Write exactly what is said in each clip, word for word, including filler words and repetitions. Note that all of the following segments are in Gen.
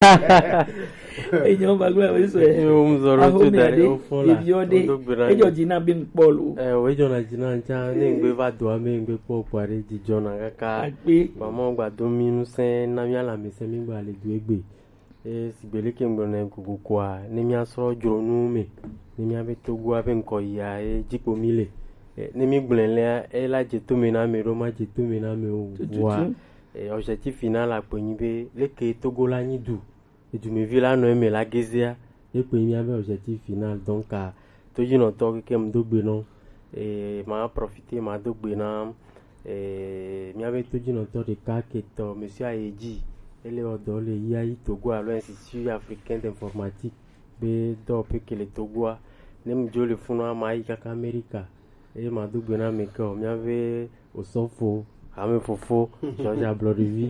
Enyo bagla we so. Yo, mzoro tu dare o fon la. Ejo di na bin polo. Eh, we jo na jina ncha ne ngbe va do ame ngbe po pare di jona kaka. Akpe. Mama gba do mi nu se na mi ala mi se mi gba le du egbe. E sigbe leke ŋgblɔ nɛ gogo koa, ne míasrɔ̃ dzronu me, ne míabe Togoa be ŋkɔ yia ye dzi ko mí le. E, ne mígblɔe lea, ela dze to me na ame ɖo, madze to me na ame o. Tututu. Vɔa, e, objectif final akpe nyi be leke Togo la nyi du, edumevi la nɔ eme la gezea, ye kpe nyi míabe objectif final. Donc, a, todzinɔtɔ keke ŋdo gbe nɔ, e, ma profiter ma do gbe na Eh, míabe todzinɔtɔ ɖeka ketɔ, Monsieur Ayedzi, ele wɔ dɔ le I A I Togo alo Institut Africain d'Informatique be dɔwɔƒe ke le Togoa. Ne mi dzo le funua, ma yi kaka Amerika. Eye ma do gbe na ame ke o, míabe osɔfo, ame fofo, George Ablɔɖevi.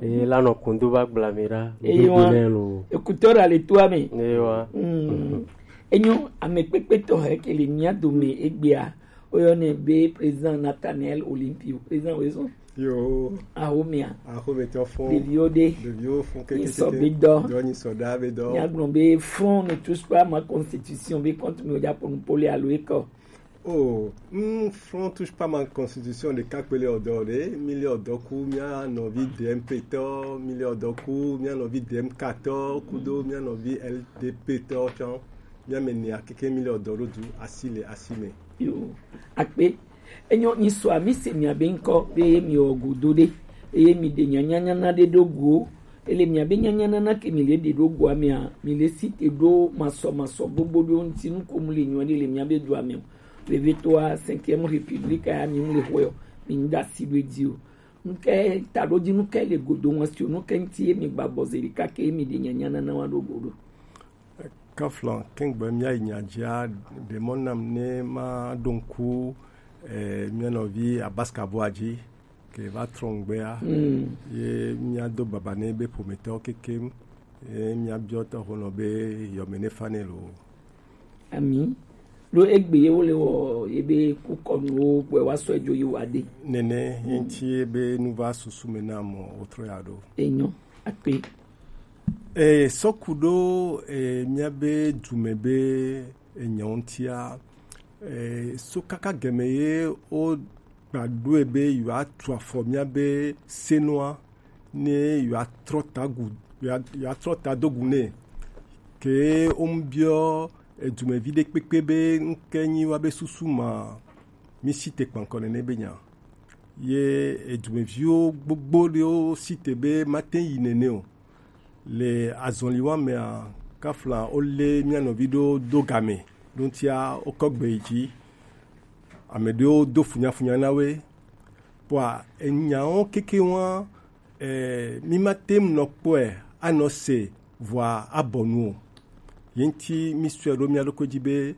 Eye la nɔ kundo va gbla mi ɖa. Eye wa, lo. Ekutɔ ɖa le toa me. Eye wa. Mm. Enyo, ame kpekpe tɔ he ke le mía dome egbea. Woyɔnɛ be président Nathaniel Olympio. Président Wezon. Yo. Ahomia. Ahometɔ fɔn. Ɖeviwo ɖe. Ɖeviwo fɔn keke. Nyi sɔ be dɔ. Dɔ nyi sɔ da be dɔ. Míagblɔ be Front ne touche pas ma constitution be compte mi wodza ponu pole alo ekɔ. Oh, mm, Front touche pas ma constitution ɖeka kpe le ɔdɔ ɖe, mi le ɔdɔ ku mía nɔvi D M P tɔ, mi le ɔdɔ ku mía nɔvi D M K tɔ, kudo mía nɔvi L D P tɔ tsɔ, mía me nea keke mi le ɔdɔ ɖo du asi le asi me. Yo, akpe. Enyo, nyisɔa, mi se miabe ŋkɔ be mi wɔ godo ɖe, eye mi ɖe nyanyanyana ɖe ɖo go. Ele miabe nyanyanana ke mi le ɖe ɖo goa mea, mi le si te ɖo masɔmasɔ gbogbo ɖo ŋuti nu ko mu le nyuɔ ɖe le miabe dua me o. Vevetoa cinquième république ya mi mu le xɔe o, mi ŋda si ɖo edzi o. Nuke ta ɖo dzi nuke le godo ŋua si o, nuke ŋuti ye mi gba bɔ ze ɖeka ke ye mi ɖe nyanyanana wa ɖo go ɖo. Kaflan, kengbe mía yi nya dzia, ɖe mɔ nam ne ma ɖo ŋku, eh, mía nɔvi Abaska Boa dzi, ke va trɔ ŋgbea, mm, ye mía do baba ne be ƒometɔwo kekem, ye mía biɔ tɔxonɔ be yɔme ne fa ne lo. Ami, ɖo egbe ye wo le wɔ ye be kukɔnuwo gbɔe wa sɔ edzo yi wa de. Nene, mm, ye ŋuti ye be nu va susu me na mɔ wotrɔ ya ɖo. Enyo, akpe. E, sɔ ku ɖo, e, míabe dume be enyɔ ŋutia, e, so kaka gɛmɛ ye wo gba ɖoe be yewoa tu afɔ míabe senua, ne yewoa trɔ ta gu, yewoa, yewoa trɔ ta do gu nɛ. Ke wo ŋu biɔ edumevi ɖe kpekpe be ŋke nyi wa be susu ma, mi si te kpankɔ nene be nya. Ye edumeviwo gbogbo ɖewo si te be mate yi nene o. Le azɔli wa mea, kafla wo lé mía nɔvi ɖo do game, ɖo ŋutia wokɔ gbe yi dzi. Ame ɖewo do funyafunya na woe. Kpɔa, enyawo keke wa, eh, mi mate ŋu nɔ kpɔe, anɔ se, vɔa abɔ nu o. Ye ŋuti mi sɔe ɖo mía ɖokui dzi be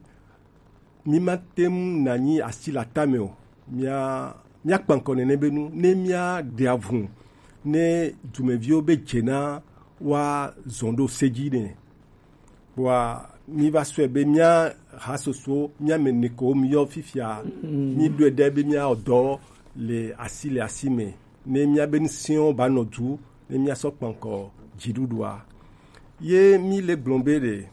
mi mate ŋu nanyi asi le atame o. Mía, mía kpankɔ nene be nu, ne mía ɖe avu, ne dumeviwo be dze na wa zɔn ɖo se dzi ne. Kpɔa, mi va sɔe be mía hasoso, mía me ne ko mi yɔ fifia, mm, mi ɖoe ɖe be mía ɔdɔ le asi le asi me. Ne mía be ŋusẽwo ba nɔ du, ne mía sɔ kpankɔ dziɖuɖua. Ye mi le gblɔ be ɖe,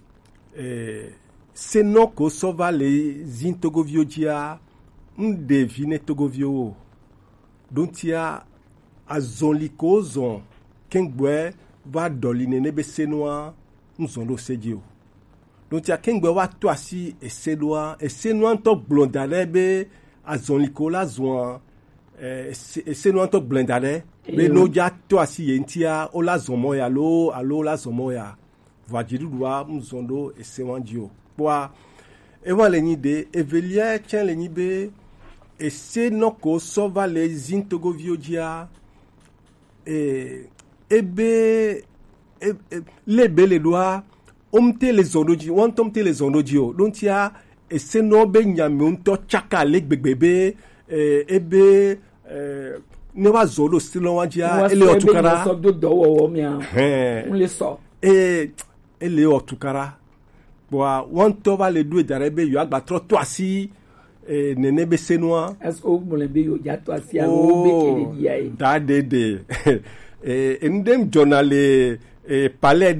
eh, senɔ ko sɔ va le zin togoviwo dzia, ŋ ɖe vi ne togoviwo o. Ɖo ŋutia, azɔli ko zɔn kɛngbɔɛ va ɖɔli nene be senua, ŋ zɔn ɖo se dzi o. Ɖo ŋutia kɛngbɔɛ wa to asi esenua, esenua ŋutɔ gblɔ da ɖe be azɔli ko la zɔa, eh, ese-, esenua ŋutɔ gblɔ da ɖe be, eyo, ne wodza to asi ye ŋutia, wola zɔn mɔ ya loo, alo wola zɔn mɔ ya. Vɔa dziɖuɖua ŋu zɔn ɖo esewa dzi o. Kpɔa, ewa le nyi ɖe, evelia tsɛ le nyi be, ese nɔ ko sɔ va le zin togoviwo dzia, e, ebe, e, e, le be le ɖoa, wo ŋute le zɔn ɖo dzi, wo ŋutɔ ŋute le zɔn ɖo dzi o. Ɖo ŋutia, ese nɔ be nya me ŋutɔ tsaka le gbegbe be, e, ebe, e, ne wa zɔ ɖo se lɔ wa dzia, ele wɔ tukara. Sɔ do dɔwɔwɔ mia. Hɛn. Ŋu le sɔ. E, ele wɔ tukara. Kpɔa, wo ŋutɔ va le ɖoe da ɖe be yewoagba trɔ to asi, e, nene be senua. Est-ce que wogblɔe be yewo dza to asi alo wobe ke le bia ye? Da ɖe ɖe. E, enu ɖe ŋu dzɔna le, E, palais de